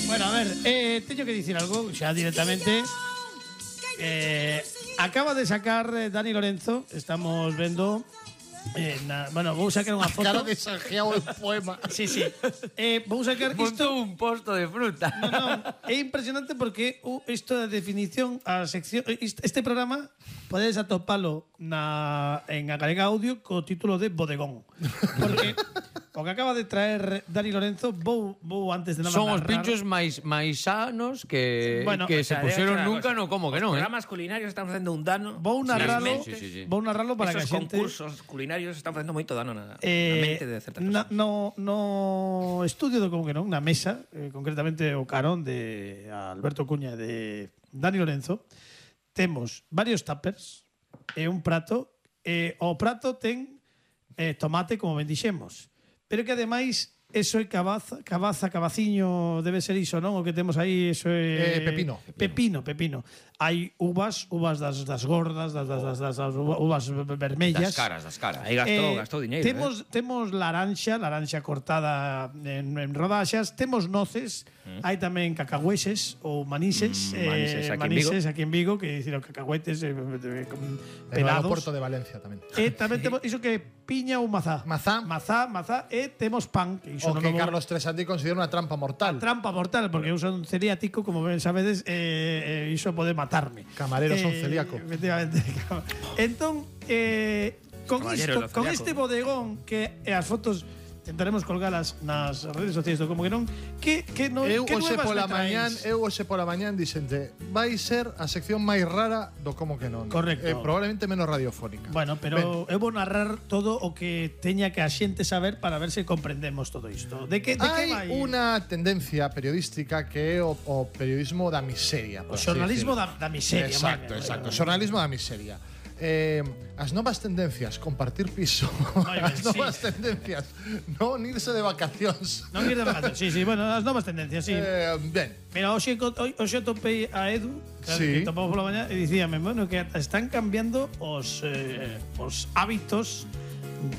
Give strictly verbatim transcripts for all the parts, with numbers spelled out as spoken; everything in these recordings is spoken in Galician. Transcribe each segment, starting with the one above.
Bueno, a ver, eh, teño que dicir algo xa directamente. Eh, acaba de sacar eh, Dani Lorenzo, estamos vendo eh, na, bueno, vou sacar unha foto. Cara de Sanjeao el poema. Sí, sí. Eh, vou sacar isto. Montou un posto de fruta. No, no, é impresionante porque uh, isto da definición a sección este programa podedes atopalo na en a Galega Audio co título de Bodegón. Porque o que acaba de traer Dani Lorenzo vou, vou antes de nada Son os narrar. pinchos máis máis sanos que Bueno, que o se sea, puxeron Digo nunca, una no cosa, como que os non, eh. programas culinarios están facendo un dano. Vou narralo, nas Sí, mentes. sí, sí. vou narralo para que a Esos xente concursos culinarios están facendo moito dano na, eh, na mente de certas na, persoas. no, no estudio do como que non, na mesa, eh, concretamente o carón de Alberto Cuña de Dani Lorenzo, temos varios tuppers e un prato, e o prato ten eh, tomate como ben dixemos, pero que ademais eso é cabaza, cabaza, cabaciño, debe ser iso, non? O que temos aí, eso é Eh, pepino. Pepino, pepino. Hai uvas, uvas das, das gordas, das, das, das, das, das uvas vermellas. Das caras, das caras. Aí gastou, Eh, gastou diñeiro, temos, eh. temos laranxa, laranxa cortada en, en rodaxas, temos noces, mm. hai tamén cacahueses ou manises, Mm, manises eh, aquí en manises Vigo. aquí en Vigo, que dicir, os cacahuetes eh, eh, con En o pelados. aeroporto de Valencia tamén. E tamén temos iso que piña ou mazá. Mazá. Mazá, mazá, e temos pan, que iso O non que o vou- Carlos Tresandi considera unha trampa mortal. trampa mortal, porque eu son celiático, como ben sabedes, eh, eh, iso pode matarme. Camareros son celíaco. Efectivamente. Entón, eh, con, Caballero isto, do con celíaco. este bodegón que e as fotos tentaremos colgalas nas redes sociais do como que non, que, que, no, Eu que hoxe nuevas pola me mañán, traéis? eu hoxe pola mañán dixente, vai ser a sección máis rara do como que non. Correcto. Eh, probablemente menos radiofónica. Bueno, pero eu vou narrar todo o que teña que a xente saber para ver se comprendemos todo isto. De que, de que vai? Hai unha tendencia periodística que é o, o periodismo da miseria. O por así xornalismo decirlo. da, da miseria. Exacto, moi ben, exacto. moi ben. Xornalismo da miseria. Eh, as novas tendencias, compartir piso. Moi ben, As novas sí. tendencias, non irse de vacacións. Non ir de vacacións. Sí, sí, bueno, as novas tendencias, sí. Eh, ben, Mira, hoxe, co- hoy- hoxe topei a Edu, claro, Sí. que topamos pola mañá, e dicíame, bueno, que están cambiando os, eh, os hábitos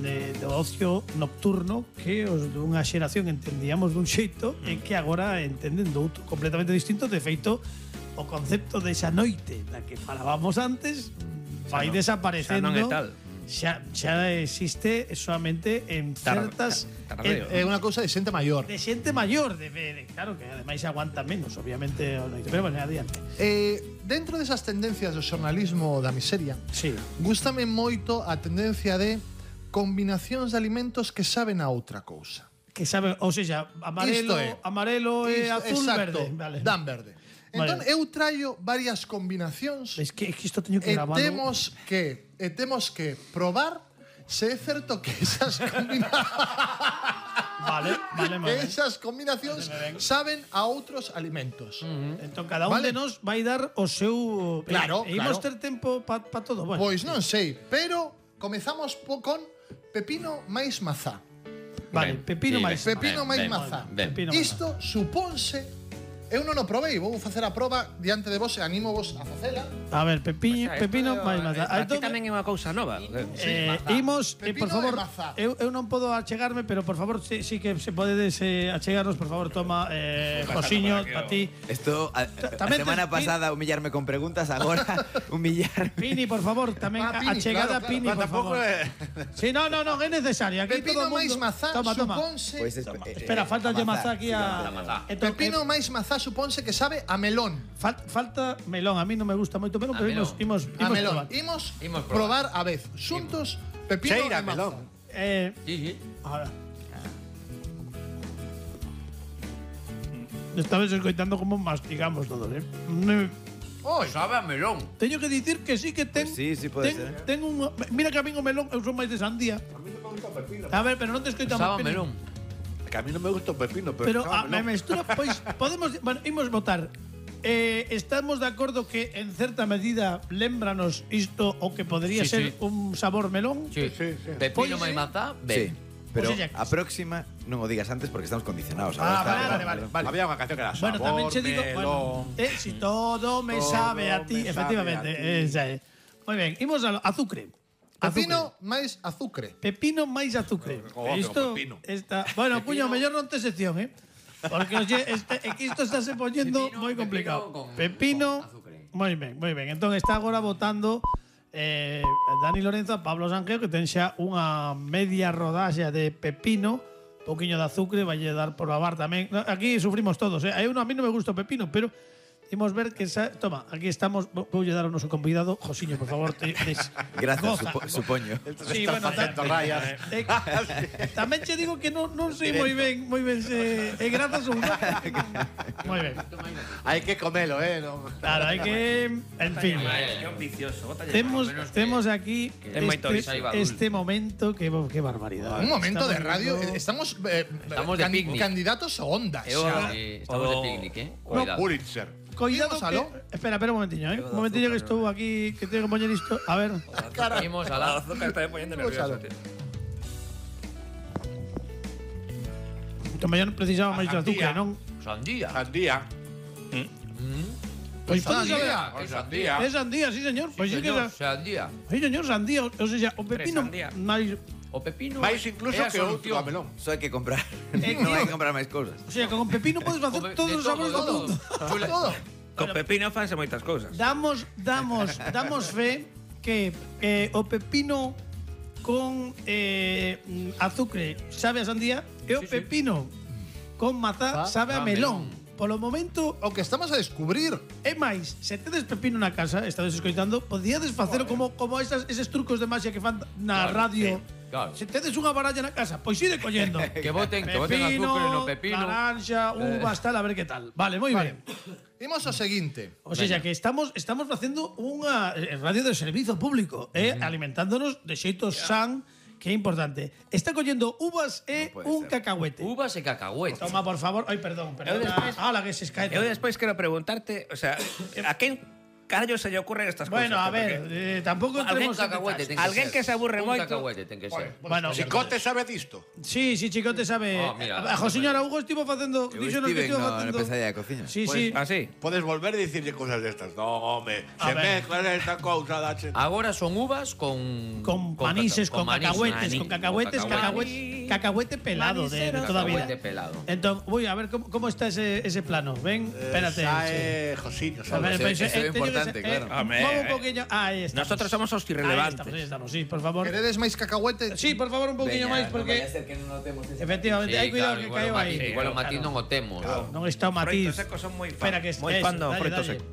de, de ocio nocturno que os dunha xeración entendíamos dun xeito e que agora entenden do outro completamente distinto. De feito, o concepto desa noite da que falábamos antes vai non- desaparecendo. xa non é tal. Xa, xa existe solamente en Tar- certas tar- tardeo. é unha cousa de xente maior. de xente maior, de, de claro que ademais aguanta menos, obviamente, o noite. Pero bueno, adiante. Eh, dentro desas tendencias do xornalismo da miseria, Sí. gústame moito a tendencia de combinacións de alimentos que saben a outra cousa. Que sabe, ou seja, amarelo, Isto é. amarelo e Isto- azul exacto, verde, vale. dan verde. Entón, Vale. eu traio varias combinacións Es que, es que isto teño que e gravarlo. temos que e temos que probar se é certo que esas combinacións Vale, vale, que vale. esas combinacións Vale, vale. saben a outros alimentos. Entón, cada un Vale. de nos vai dar o seu... Claro, e, e imos claro. ter tempo para pa todo. Bueno, Pois non sei, pero comezamos po con pepino máis mazá. vale, Ben, pepino sí, máis. ben, Pepino ben, máis ben, mazá. ben. Pepino máis Isto supónse. Eu non o provei, vou facer a proba diante de vos e animo vos a facela. A ver, pepiño, O sea, pepino esto, máis eh, maza. Para ti Entón, tamén é unha cousa nova. Eh, mazá. imos, eh, por Pepino favor, e mazá. eu, eu non podo achegarme, pero por favor, sí, sí que se podedes eh, achegarnos, por favor, toma eh, Josiño, para ti. Esto, a, a tamén semana tes- pasada humillarme con preguntas, agora humillarme. Pini, por favor, tamén Ah, Pini, achegada claro, claro. Pini, Ah, por tampouco favor. é- Sí, no, no, no, é necesario. Aquí todo Pepino o mundo... máis mazá Toma, toma. supónse. Pois es- eh, Espera, eh, falta de mazá, mazá aquí a... Entón, Pepino eh, máis mazá supónse que sabe a melón. fal- falta melón, a mí non me gusta moito melón, A pero melón. imos, imos, A imos melón. probar. Imos, Imos probar a vez. Xuntos, pepino Cheira e mazá. melón. Eh, Sí, sí. ahora. Estabas escoitando como mastigamos todos, eh? Ne- Oi, Sabe a melón. Teño que dicir que sí que ten... Pues sí, sí pode ten, ser. ten un, mira que a min o melón eu son máis de sandía. A ver, pero non te escoitamos. Sabe a Pini. melón. Que a mí non me gusta o pepino, Pero pero, a me mestura, pois podemos, bueno, imos votar. Eh, estamos de acordo que en certa medida lembranos isto o que podría Sí, ser sí. un sabor melón. Sí. Sí, sí. Pepino Pois, máis mazá, Sí, ben. pero O sea, a próxima non o digas antes porque estamos condicionados. Ah, Ahora vale, está- vale, vale, vale. Había unha canción que era Bueno, sabor, tamén che digo, melón. bueno, eh, si todo me Todo sabe a ti, me efectivamente, sabe a ti. esa é. Moi ben, imos a azúcar. pepino máis azucre. Pepino máis azúcar. Oh, que Isto pepino. está, bueno, cuño, mellor non te sección, eh. Porque oye, este, aquí isto está se poñendo Pepino, moi pepino complicado. con- Pepino, con azúcar. moi ben, moi ben. Entón está agora votando eh, Dani Lorenzo a Pablo Sanjeo, que ten xa unha media rodaxa de pepino, pouquiño de azúcar, vai dar por lavar tamén. No, aquí sufrimos todos, eh. Hai uno, a mí non me gusta o pepino, pero imos ver que sa, toma, aquí estamos, vou voulle dar ao noso convidado, Josiño, por favor, te, des, Gracias, goza, supo, go- supoño. Sí, bueno, ta, rayas. eh, tamén che digo que non, non sei moi ben, moi ben se é grazas ou non. Moi ben. Hay que comelo, eh. No. Claro, hai que, en fin. Qué ambicioso. bótalle Temos menos que- temos aquí Ten moito este, risaiba este momento que que barbaridade. Un momento de Estamos radio. viendo- Estamos, eh, Estamos de picnic. candidatos a ondas. Eu, xa. eh, estamos de O- picnic, eh? No, Cuidado. Pulitzer. Cuidado Imos que, aló. espera, espera un momentiño, eh. Un momentillo que estou aquí que tengo que poñer isto. A ver. Imos a El la... azúcar está poniendo Vamos a nervioso. lo. tío. Que mellor precisaba máis de azúcar, non? Sandía. Sandía. Pois pode saber. Sandía. Con sandía. É sandía, sí, señor. Pois sí que Señor, sa- sandía. Sí, señor, sandía. O sea, o pepino sandía. máis. O pepino Máis incluso é a que outro solución. melón. Eso hai que comprar. Eh, non tío. hai que comprar máis cousas. O sea, que con pepino podes facer Come- todos de os sabores do todo, mundo. Chule- Todo. Con pepino fanse moitas cousas. Damos, damos, damos fe que eh, o pepino con eh, mm, azúcar sabe a sandía e o pepino con mazá Ah, sabe a ah, melón. melón. Polo momento, O que estamos a descubrir. é máis, se tedes pepino na casa, estades escoitando, podíades facelo como como esas, eses trucos de magia que fan na Claro, radio. claro. Se tedes unha baralla na casa, pois ide collendo. Que voten, que voten azúcar no pepino. naranja, uvas, tal, a ver que tal. Vale, moi ben. Imos ao seguinte. O sea, que estamos estamos facendo unha eh, radio de servizo público, eh, alimentándonos de xeito san, que é importante. Está collendo uvas e puede un ser. cacahuete. Uvas e cacahuete. Toma, por favor. Ai, perdón, perdón. Eu despois- Ah, la que se escae. Yo después quiero preguntarte, o sea, ¿a quién carallo se le ocurren estas Bueno, cosas? a ver, eh, tampouco Alguén entremos en cacahuete detalles. ten que Alguén ser. que se aburre Un moito. cacahuete ten que ser. Bueno, Chicote sabe disto. sí, sí, Chicote sabe. Oh, mira, a José Hugo estivo facendo, Eu díxonos que estive estivo no, na facendo. pesadilla de cociña. Sí, Pues, sí. ¿Ah, sí? Podes volver a dicirlle cosas destas. No, home. A Se ver. mezcla esta cousa da che. Agora son uvas con Con manises, con, manís, cacahuetes, maní, con cacahuetes, con cacahuete, cacahuete pelado de, de toda a vida. Cacahuete pelado. Entón, voy a ver cómo, cómo está ese, ese plano. Ven, espérate. sí. Sae Josiño, A sabe. ver, Ese- pues, ese é eh, teño que importante, ser- claro. eh, Hombre, mueve un eh. poquillo. Ahí estamos. Nosotros somos los Ahí irrelevantes. estamos, ahí estamos, sí, por favor. Queredes máis cacahuete? Sí, por favor, un poquillo máis, porque que non notemos efectivamente, Sí, hai cuidado claro, que igual caeu o aí. matiz- igual o Claro. matiz non o temos. Non está o matiz. Froitos secos son moi fan. Espera que moi eso, fan do dalle, froito dalle. seco.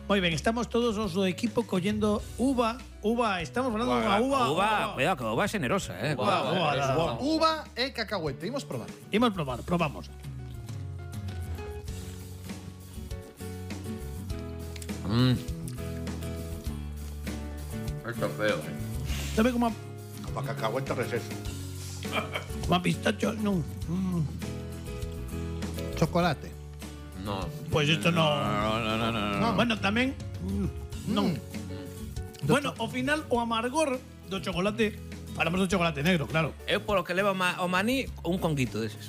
Moi ben, estamos todos os do equipo collendo uva, uva, estamos falando dunha uva. Uva, cuidado, que uva es generosa, eh. Uva, uva, Eso, uva. Uva e cacahuete. Imos probar. Imos probar, probamos. Mm. Esto es feo. eh. Sabe como a, Para cacahuete receso. como a pistacho, non. Mm. Chocolate. No. Pois isto non. No, no, no, no, no. No. Bueno, tamén mm, non. Bueno, ao final o amargor do chocolate, falamos do chocolate negro, claro. Eu polo que leva ma- o maní, un conguito deses.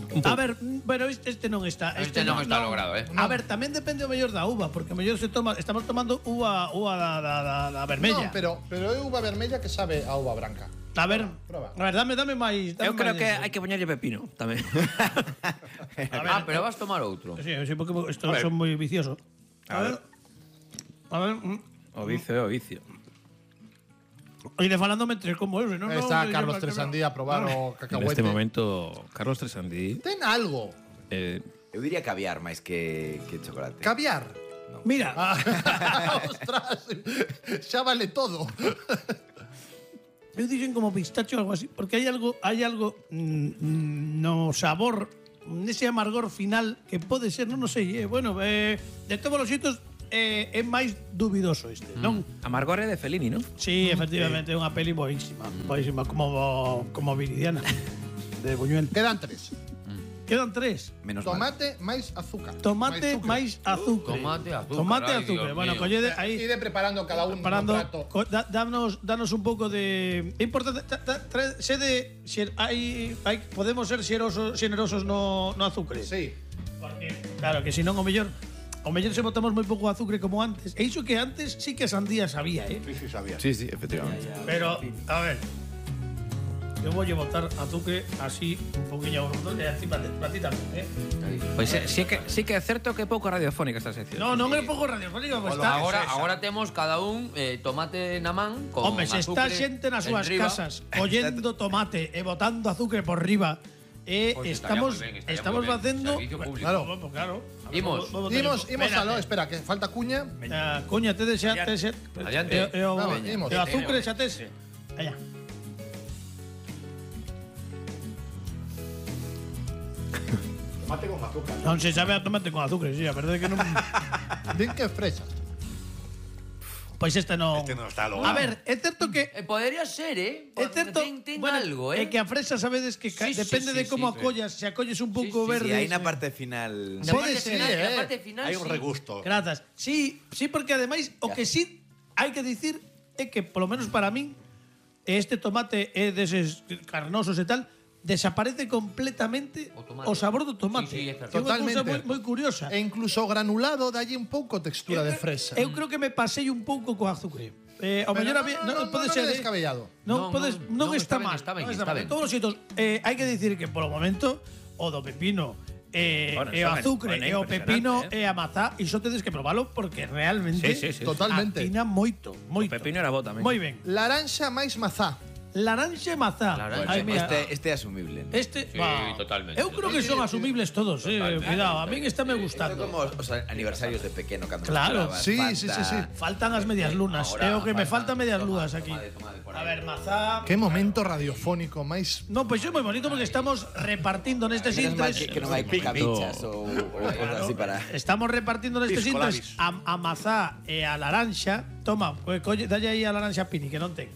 Un A pouco. ver, mm, pero este, este non está, Este non está logrado, eh. A ver, tamén depende o mellor da uva, porque o mellor se toma, estamos tomando uva uva da, da, da, da vermella. Non, pero, pero é uva vermella que sabe a uva branca. A ver, Proba. a ver, dame, dame máis. Dame Eu creo máis que diso. hai que poñerlle pepino tamén. Ah, pero vas tomar outro. Sí, sí, porque estos A ver. son moi viciosos. A, A ver. A ver. mm. o vicio é o vicio. E de falándome tres como ese, non? Está non, Carlos non, Tresandía a probar o En cacahuete. este momento, Carlos Tresandí Ten algo. eh, Eu diría caviar máis que, que chocolate. Caviar. Mira, Ah, ostras, xa vale todo. eu dixen como pistacho ou algo así, porque hai algo, hai algo mm, mm, no sabor, nese amargor final que pode ser, non, non sei, eh, bueno, eh, de todos os xeitos eh, é máis dubidoso este, non? Amargor é de Fellini, non? Sí, efectivamente, é unha peli boísima, boísima, como, como Viridiana, de Buñuel. Quedan tres. Quedan tres. Menos mal. Tomate máis azúcar. Tomate sucre. máis azúcar. Tomate, azúcar, Tomate, ay, azúcar. Dios Bueno, mío. collede aí. Ide preparando cada un Parando, no prato. co- da, danos, danos un pouco de. É importante. Ta, ta, tra, sede, xer, hai, hai, podemos ser xerosos, xenerosos no, no azúcar. Sí. Porque, claro, que senón o mellor. O mellor se botamos moi pouco azúcar como antes. E iso que antes sí que a sandía sabía, eh? Sí, sí, sabía. Sí, sí, efectivamente. Pero, a ver. eu voulle botar azúcar así un poquinho e así para ti, para ti tamén, eh? Pois eh, sí que sí que é certo que é pouco radiofónica esta sección. No, non é pouco radiofónico, pues Bueno, está. agora, agora temos cada un eh, tomate na man con Hombre, se está azúcar xente nas súas enriba. casas collendo tomate e botando azúcar por riba. E Pois estamos estaría moi ben, estaría estamos moi ben. facendo Servicio público. Claro. Vamos, claro. Imos. Vamos, Imos, vamos, imos espérate. aló, espera, que falta cuña. Ah, coña, te xa te xa. Adiante. E, e, o, Vamos, e imos. o azúcar xa tes. Allá. Tomate con azúcar. Non se sabe a tomate con azúcar, sí, a verdade é que non. Din que fresas. Pois este non. Este non está logrado. A ver, é certo que Eh, podría ser, eh? é certo, Ten, ten bueno, algo, eh? é que a fresa sabedes que ca- Sí, sí, depende sí, de sí, como sí. acollas, se acolles un pouco Sí, sí, verde. Sí, aí na parte final. Na Pode parte ser, final, na eh. parte final, Hai un sí. regusto. Grazas. Sí, sí, porque ademais o que sí hai que dicir é que polo menos para min este tomate é deses carnosos e tal, desaparece completamente O tomate. o sabor do tomate. Sí, sí, é certo. Que é unha cousa Totalmente. moi, moi curiosa. E incluso o granulado dalle un pouco textura de fresa. Eu creo que me pasei un pouco co azúcar. Eh, ao Pero mellor no, había- no, no, pode no, ser, non é eh. descabellado. Non, Non, podes, non, non, non, está, está ben, mal. está ben, non está mal. ben. De todos os xeitos, eh, hai que dicir que polo momento o do pepino eh, Bueno, e o son- azúcar bueno, e o pepino impresionante, e a mazá, iso tedes que probalo porque realmente Sí, sí, sí. Totalmente. atina moito, moito. O pepino era bo tamén. Moi ben. Laranxa máis mazá. Laranxa e mazá. Laranxa Ai, e mira, Este, este é asumible. ¿no? este, Sí, bah, totalmente. Eu creo que son asumibles todos, eh, cuidado, a min está me Isto é gustando. como os aniversarios de pequeno cando Claro. mezclabas Sí, Fanta. sí, sí, sí. Faltan as medias lunas. Ahora É o que me falta- faltan medias toma, lunas aquí. tomade, tomade por A aí. ver, mazá. Que momento radiofónico máis. No, pois é moi bonito porque estamos repartindo nestes Menos mal intres. que, que non hai cabichas ou, ou cosas así para... Estamos repartindo nestes Pisco intres labis. a, a mazá e a laranxa. Toma, pues, colle, dalle aí a laranxa Pini, que non ten.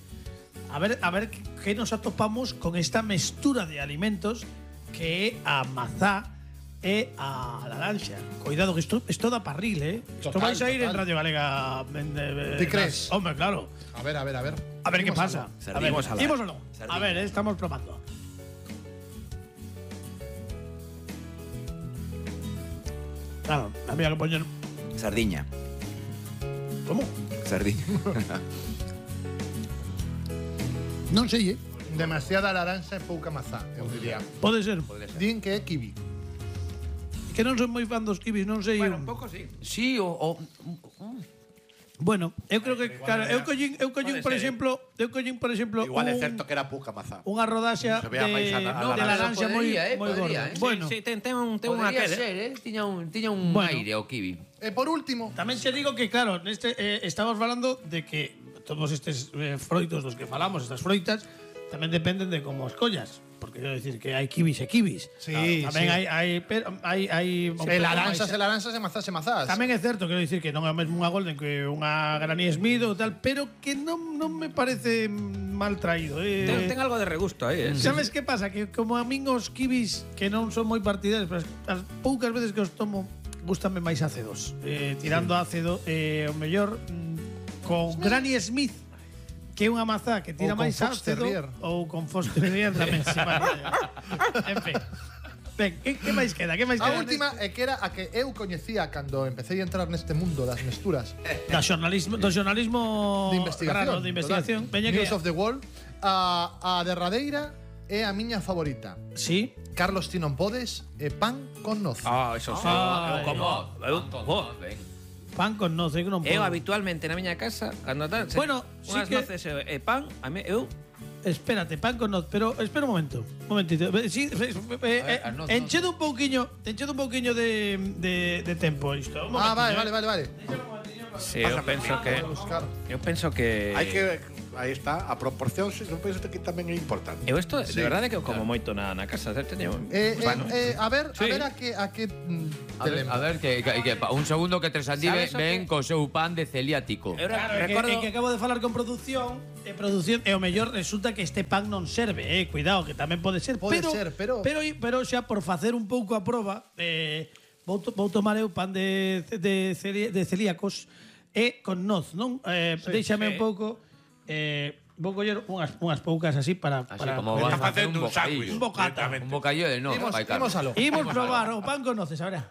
A ver, a ver que, que nos atopamos con esta mestura de alimentos que é a mazá e a laranxa. Cuidado, que isto, isto da parril, eh? Isto Total, vais a ir en total. Radio Galega. En, eh, Ti crees? Hombre, claro. A ver, a ver, a ver. A ver qué Imos pasa. aló. A ver, Sardimos a la- ¿imos o no? A Sardina. ver, eh, estamos probando. Claro, había que poner. Sardiña. ¿Cómo? Sardiña. Non sei, eh. Demasiada laranxa e pouca mazá, eu diría. Pode ser. Din que é kiwi. Que non son moi fan dos kibis, non sei. Bueno, un pouco sí. Sí, o... o Bueno, eu creo que, claro, eu collín, eu collín, Pode por ser, eh. exemplo, eu collín, por exemplo, Igual é un, certo que era pouca mazá. unha rodaxa Se de, vea máis a- a de laranxa. laranxa moi Podería, eh, moi podería, gorda. eh. Bueno, Sí, ten, ten un, ten unha Podría aquel, ser, eh? eh? Tiña un, tiña un Bueno. aire o kiwi. E por último, tamén se digo que, claro, neste eh, estamos falando de que todos estes eh, froitos dos que falamos, estas froitas, tamén dependen de como as collas. Porque quero decir que hai kibis e kibis. Sí, Claro, tamén sí. hai, hai, pero, hai, hai un se pouco laranxas máis- e laranxas e mazás e mazás. Tamén é certo, quero dicir que non é o mesmo unha Golden que unha Granny Smith ou tal, pero que non, non me parece mal traído. Eh. Ten, ten algo de regusto aí, eh? Sabes que pasa? Que como a min os kibis que non son moi partidarios, pero as, as poucas veces que os tomo gustame máis ácidos. Eh, tirando ácido, eh, o mellor mm, con Granny Smith, que é unha mazá que tira Ou con máis Fox ácido, Terrier. ou con Fox Terrier tamén. Sí, vale. En fin. Ben, que, que máis queda? Que máis A queda? última é que era a que eu coñecía cando empecé a entrar neste mundo das mesturas Da xornalismo, do xornalismo de investigación. raro, de investigación. total. Veña que News of the World. A, a derradeira é a miña favorita. Sí. Carlos ti non podes e pan con noz. Ah, eso sí. Ah, eu como... Eu, oh, Pan con noz, eu non podo. eu habitualmente na miña casa, cando tal, se- Bueno, sí unhas que- noces e, e pan, a mí, eu... Espérate, pan con noz, pero espera un momento. Un momentito. Sí, eh, eh, as noz, enchedo un pouquiño, enchedo un pouquiño de, de, de tempo isto. Un Ah, vale, momentiño, vale, vale, vale. Sí, eu penso que... Buscar. Eu penso que... Hai que aí está a proporción, se non penso que tamén é importante. Eu isto, de verdade que eu como moito na, na casa. Teño... Eh, Bueno. eh, eh, a ver, Sí. a ver a que a que mm, A te ver, lembra. a ver que, que, que pa- un segundo que Tresandí Sabes o ven que- co seu pan de celiático. Eu Claro, é que, recordo... é que acabo de falar con produción, e produción e o mellor resulta que este pan non serve, eh, cuidado, que tamén pode ser, Pode pero, ser, pero- pero pero xa por facer un pouco a proba, eh, vou, to, vou tomar eu pan de de, celi, de celíacos e con noz, non? Eh, déixame sí. un pouco eh, vou coller unhas unhas poucas así para Así para como para- vas a hacer un facendo un sándwich. bocadillo. Un bocata. Un bocadillo de no, Imos, vai, Carlos. imos aló. Imos probar o pan con noces, ahora.